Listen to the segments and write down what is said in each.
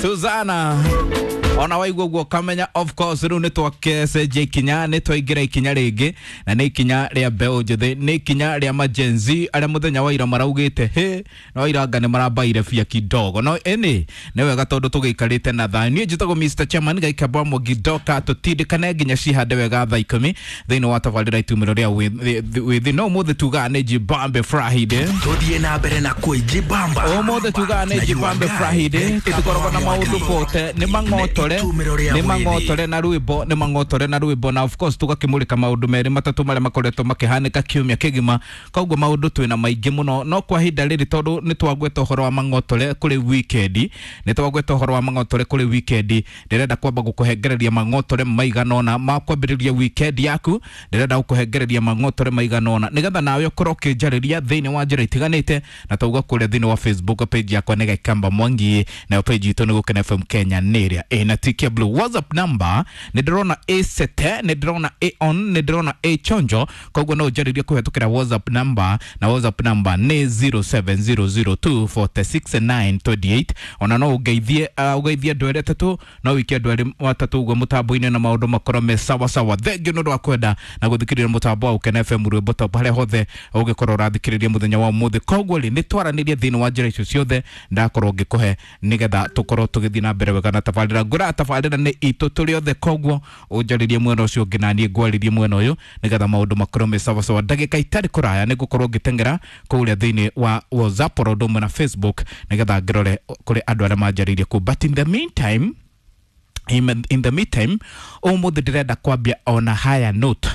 Suzana ona waigua guo kamenya of course riu nĩ twakecenjia ikinya, nĩ twaingĩra ikinya rĩngĩ, na nĩ ikinya rĩa mbeũ njĩthĩ, nĩ ikinya rĩa majenzi arĩa mũthenya wa ira maraugĩte hĩ no iranga nĩ marambaire bia kidogo. No ĩnĩ nĩ wega tondũ tũgĩikarĩte na thayũ. Niĩ njĩtagwo Mr Chairman Gaikamba Mũgidoka, tũtindĩkane nginya cihande wega thaa 10 thĩinĩ wa tabarĩra itumĩro rĩa wĩthĩ. No ũmũthĩ tugaga nĩ Jibambe Friday. Tuthiĩ na mbere na kwĩjibamba. Ũmũthĩ tugaga nĩ Jibambe Friday, tũtikoragwo na maũndũ bote, nĩ mang'otore, nĩ mang'otore na rwĩmbo, nĩ mang'otore na rwĩmbo, na of course tũgakĩmũrĩka maũndũ merĩ matatũ marĩa makoretwo makĩhanĩka kiumia kĩgima. Koguo maũndũ twĩna maingĩ mũno, no kwa ihinda rĩrĩ tondũ nĩ twagweta ũhoro wa mang'otore kũrĩ weekend, nĩ twagweta ũhoro wa mang'otore kũrĩ weekend, ndĩrenda kwamba gũkũhengereria mang'otore maigana ũna ma kwambĩrĩria weekend yaku. Ndĩrenda gũkũhengereria mang'otore maigana ũna nĩgetha nawe ũkorwo ũkĩnjarĩria thĩinĩ wa njĩra itiganĩte, na tauga kũrĩa thĩinĩ wa Facebook page yakwa nĩ Gaikamba Mwangi, nayo page itũ nĩ Gũkena FM Kenya nĩ ĩrĩa ĩna tick ya blue. WhatsApp number nĩ ndĩrona a sete, nĩ ndĩrona a on, nĩ ndĩrona a chonjo, koguo no ũnjarĩrie kũhetũkĩra WhatsApp number, na WhatsApp number nĩ 0700246928. Ona no ũngeithie, ũgeithie andũ erĩ atatũ, no wĩke andũ erĩ atatũ ũguo mũtambo-inĩ na maũndũ makorwo me sawa sawa. Thengiũ nĩ ũndũ wa kwenda na gũthikĩrĩria mũtambo wa Gũkena FM rwĩmbo top harĩa hothe ũngĩkorwo ũrathikĩrĩria mũthenya wa ũmũthĩ. Koguo rĩ, nĩ twaranĩrie thĩinĩ wa njĩra icio ciothe ndakorwo ngĩkũhe nĩgetha tũkorwo tũgĩthiĩ na mbere wega na tabarĩra. Ngũraga tabarĩra nĩ itũ tũrĩ othe, koguo ũnjarĩrie mwena ũcio ũngĩ na niĩ ngwarĩrie mwena ũyũ nĩgetha maũndũ makorwo me sawa sawa. Ndagĩka itarĩ kũraya nĩ ngũkorwo ngĩteng'era kũrĩa thĩinĩ wa WhatsApp oro ũndũ ũmwe na Facebook nĩgetha ngĩrore kũrĩ andũ arĩa manjarĩirie kũu. But in the meantime, in the meantime, ũmũthĩ ndĩrenda kwambia ona higher note.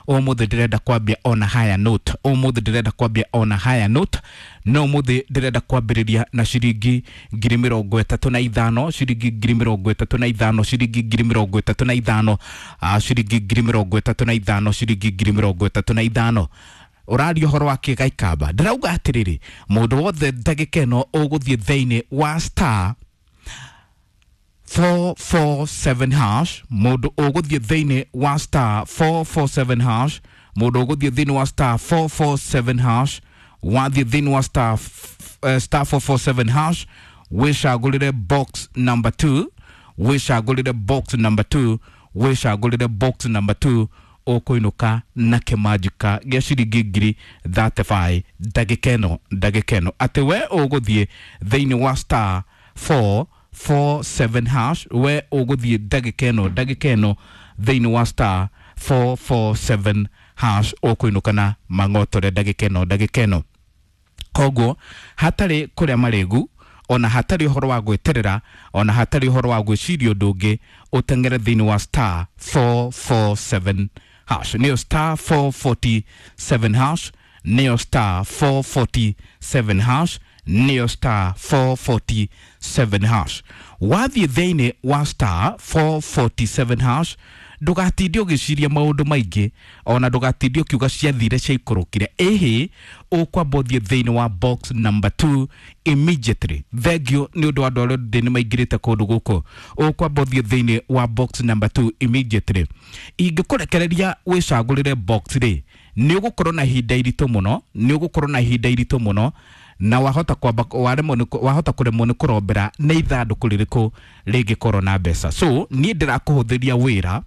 Ũmũthĩ ndĩrenda kwambia ona higher note. Ũmũthĩ ndĩrenda kwambia ona higher note. No ũmũthĩ ndĩrenda kwambĩrĩria na ciringi 35,000, ciringi 35,000, ciringi 35,000, ciringi 35,000, ciringi 35,000. Ũraria ũhoro wa kĩ Gaikamba? Ndĩrauga atĩrĩrĩ, mũndũ wothe ndagĩka ĩno ũgũthiĩ thĩinĩ wa star 447 hash, mũndũ ũgũthiĩ thĩinĩ wa star 447 hash, mũndũ ũgũthiĩ thĩinĩ wa star 447 hash, wathiĩ thĩinĩ wa star, star 447 hash, wĩcagũrĩre box number 2, wĩcagũrĩre box number 2, wĩcagũrĩre box number 2, ũkũinũka na kĩmanjĩka gĩa ciringi 35,000 ndagĩka ĩno, ndagĩka ĩno atĩ we ũgũthiĩ thĩinĩ wa star 447 hash, we ũgũthiĩ ndagĩka ĩno, ndagĩka ĩno thĩinĩ wa star 447 hash, ũkũinũka na mang'otore ndagĩka ĩno, ndagĩka ĩno. Koguo hatarĩ kũrĩa marĩgu, ona hatarĩ ũhoro wa gwĩterera, ona hatarĩ ũhoro wa gwĩciria ũndũ ũngĩ, ũteng'ere thĩinĩ wa star 447 hash, nĩyo star 447 hash, nĩyo star 447 hash, nĩyo star 447 hash. Wathiĩ thĩinĩ wa star 447 hash, ndũgatinde ũgĩciria maũndũ maingĩ, ona ndũgatinde ũkiuga ciathire ciaikũrũkire. Ĩhĩ, ũkwamba ũthiĩ thĩinĩ wa box number 2 immediately. Thengiũ nĩ ũndũ wa andũ arĩa ndĩ nĩ maingĩrĩte kũndũ gũkũ. Ũkwamba ũthiĩ thĩinĩ wa box number 2 immediately. Ingĩkũrekereria wĩcagũrĩre box rĩ, nĩ ũgũkorwo na ihinda iritũ mũno, nĩ ũgũkorwo na ihinda iritũ mũno, na wahota kwamba waremwo nĩ wahota kũremwo nĩ kũrombera nĩ ithandũkũ rĩrĩkũ rĩngĩkorwo na mbeca. So niĩ ndĩrakũhũthĩria wĩra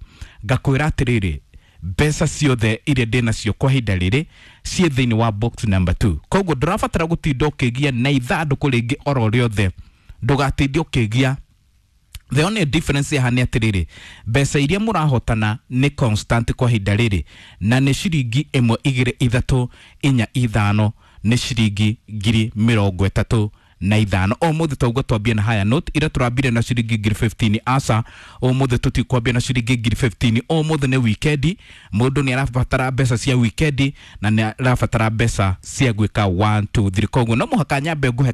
ngakwĩra atĩrĩrĩ, mbeca ciothe iria ndĩ nacio kwa ihinda rĩrĩ ciĩ thĩinĩ wa box number 2. Koguo ndũrabatara gũtinda ũkĩgia na ithandũkũ rĩngĩ oro rĩothe, ndũgatinde ũkĩgia. The only difference haha nĩ atĩrĩrĩ, mbeca iria mũrahotana nĩ constant kwa ihinda rĩrĩ, na nĩ ciringi 1 2 3 4 5, nĩ ciringi 35,000. Ũmũthĩ tauga twambie na higher note, ira tũrambire na ciringi 15,000. Aca, ũmũthĩ tũtikwambia na ciringi 15,000. Ũmũthĩ nĩ weekend, mũndũ nĩ arabatara mbeca cia weekend na nĩ arabatara mbeca cia gwĩka 1 2 3. Koguo no mũhaka nyambe ngũhe